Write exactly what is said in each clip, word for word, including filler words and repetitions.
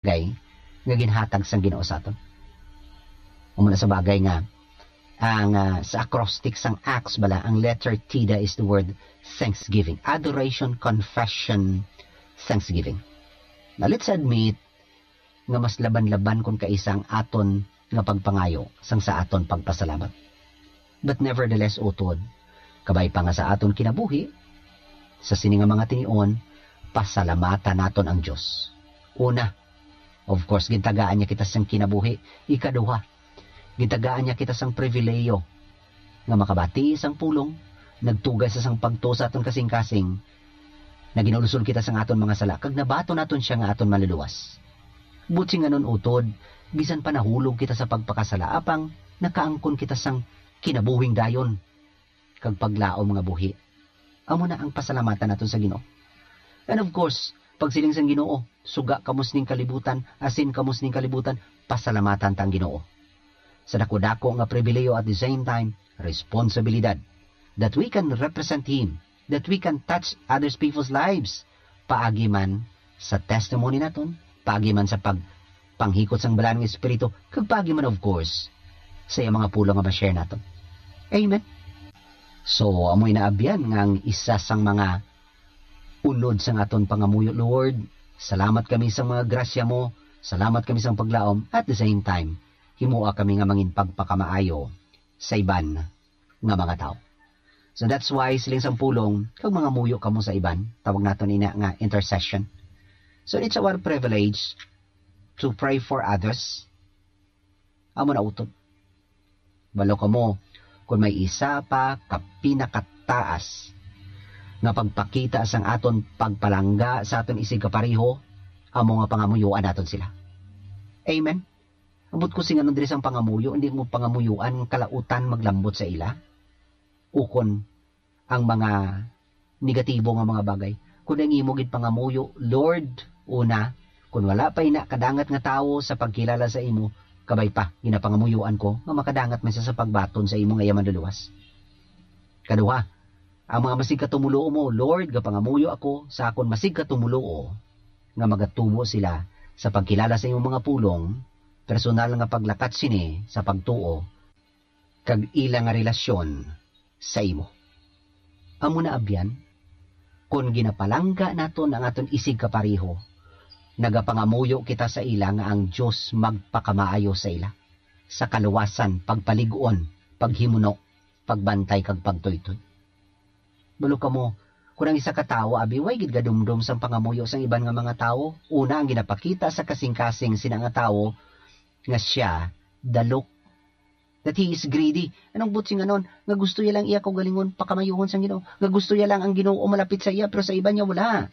bagay nga ginhatag sang Ginoo sa aton. Amo na sa bagay nga ang, ah, sa acrostic sang Acts bala, ang letter Theta is the word thanksgiving, adoration, confession, thanksgiving. Now, let's admit nga mas laban-laban kon kaisa ang aton nga pagpangayo sang sa aton pagpasalamat. But nevertheless, utod, kabay pa nga sa aton kinabuhi, sa sini nga mga tinion, pasalamatan naton ang Dios. Una, of course, gintagaan niya kita sang kinabuhi. Ikaduha, gintagaan niya kita sang pribilehiyo nga makabati sang pulong, nagtugay sa sang pagtuo sa aton kasing-kasing, naginulsol kita sang aton mga sala, kag nabaton naton siya nga aton Manluluwas. Buot silingon, utod, bisan pa nahulog kita sa pagpakasala, apang nakaangkon kita sang kinabuhing dayon kag paglaom nga buhi. Amo na ang pasalamatan naton sa Ginoo. And of course, pagsiling sang Ginoo, "Suga kamo sining kalibutan, asin kamo sining kalibutan," pasalamatan ta ang Ginoo. Sa dako-dako nga pribilehiyo, at the same time, responsibilidad, that we can represent Him, that we can touch others people's lives, paagi man sa testimony naton, paagi man sa pagpanghikot sang Balaan nga Espiritu, kag paagi man, of course, sa iyang mga pulong nga ma-share naton. Amen. So, amoy naabyan nga ang isa sang mga unod sang aton pangamuyo, "Lord, salamat kami sa mga grasya mo, salamat kami sa paglaom, at the same time, himoa kami nga mangin pagpakamaayo sa iban nga mga tawo." So that's why, siling sang pulong, kag mangamuyo kamo sa iban, tawag naton ina nga intercession. So it's our privilege to pray for others. Amo na, utod. Balo kamo, kon may isa pa ka pinakataas nga pagpakita sang aton pagpalangga sa aton isigkapareho, amo nga pangamuyoan naton sila. Amen? Ambot ko silingon diri sang pangamuyo, hindi mo pangamuyoan ang kalautan maglambot sa ila, ukon ang mga negatibo nga mga bagay. Kun ang imo gid pangamuyo, "Lord, una, kun wala pa ina kadangat nga tawo sa pagkilala sa imo, kabay pa, ginapangamuyoan ko nga makadangat man siya sa pagbaton sa imo nga iya Manluluwas." Kaduha, ang mga masigkatumuluo mo, "Lord, gapangamuyo ako sa akon masigkatumuluo nga magatubo sila sa pagkilala sa imong mga pulong, personal nga paglakat sini sa pagtuo, kag ila nga relasyon sa imo." Amo na, abyan, kon ginapalangga naton ang aton isigkapareho, nagapangamuyo kita sa ila nga ang Dios magpakamaayo sa ila, sa kaluwasan, pagpalig-on, paghimuno, pagbantay, kag pagtuytoy. Balo kamo, kon ang isa ka tawo, abi, way gid gadumdom sang pangamuyo sang iban nga mga tawo, una, ang ginapakita sa kasing-kasing sina nga tawo nga sia dalok, that he is greedy. Anong buot silingon? Nga gusto iya lang iya kaugalingon pakamayuhon sang Ginoo. Nga gusto iya lang ang Ginoo malapit sa iya, pero sa iban niya wala.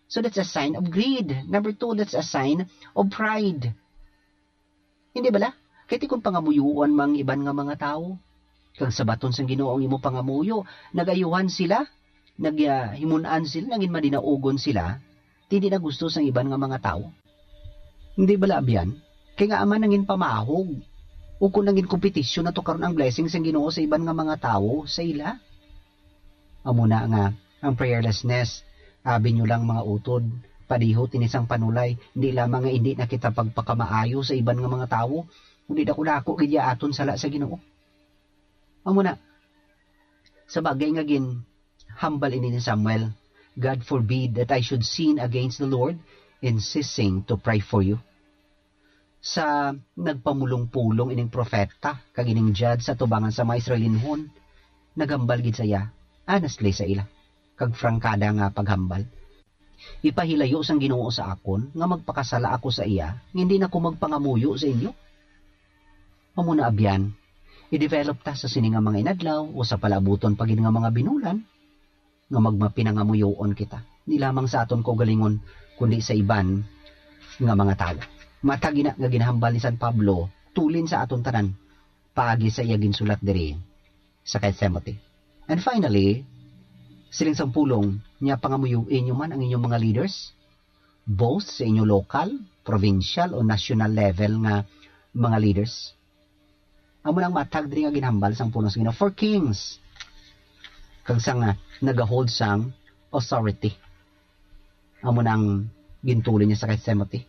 So that's a sign of greed. Number two, that's a sign of pride. Hindi bala? Kay ti kon pangamuyoan mang iban nga mga tawo, kag sabaton sang Ginoo ang imo pangamuyo, nagayuhan sila, nag-, ah, himun-an sila, nangin madinaugon sila, ti di na gusto sang iban nga mga tawo. Hindi bala, abyan? Kay nga aman nangin pamahog, o kung nangin kompetisyon nato karon ang blessing sang Ginoo sa iban nga mga tawo, sa ila. Amo na nga, ang prayerlessness, abi nyo lang, mga utod, padihot ini sang panulay, hindi lamang nga hindi na kita pagpakamaayo sa iban nga mga tawo, kundi dako-dako gid ya aton sala sa Ginoo. Amo na, sa bagay nga ginhambal ini ni Samuel, "God forbid that I should sin against the Lord in ceasing to pray for you." Sa nagpamulong-pulong ining propeta kag ining judge sa tubangan sa mga Israelinhon, naghambal gid sa iya, honestly sa ila, kag prangkada nga paghambal, "Ipahilayo sang Ginoo sa akon nga magpakasala ako sa iya, nga hindi na ko magpangamuyo sa inyo." Amo na, abyan, i-develop ta sa sini nga mga inadlaw o sa palaabuton pa gid nga mga binulan, nga magmapinangamuyoon kita, di lamang sa aton kaugalingon, kundi sa iban nga mga tawo. Matag ina nga ginahambal ni San Pablo tulin sa aton tanan, paagi sa iya ginsulat diri sa kay Timothy. And finally, siling sang pulong niya, pangamuyoon inyo man ang inyong mga leaders, both sa inyo local, provincial, o national level nga mga leaders. Amo nang matag diri nga ginhambal sang pulong sa Ginoo for kings, kag sa nga nagahold sang authority. Amo nang gintuloy niya sa kay Timothy.